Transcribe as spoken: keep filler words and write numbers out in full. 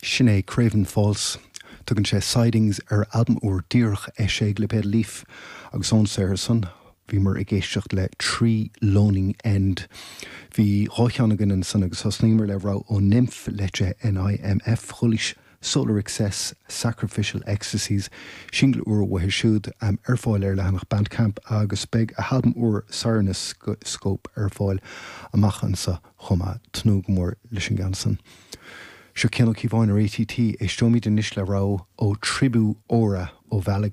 Sin é Craven Falls. Tugann sé Sidings ar albam úr díreach eisithe ag lipéad Leaf agus ón saothar san bhíomar ag éisteacht le Tree Loning End. Bhí dhá cheann againn ansan agus thosnaíomar le rogha ó Nimf leite NIMF Chulís Solar Excess Sacrificial Ecstasies singil úr uathu siúd um, ar fáil ar leathanach Bandcamp agus beidh a halbam úr Scope ar fáil amach anseo chomh maith tnúth go mór leis an gceann san. Seo Cian Ó Cíobháin ar ATT éisteoimid anois le rogha ó Tribu Ora ó Bhealach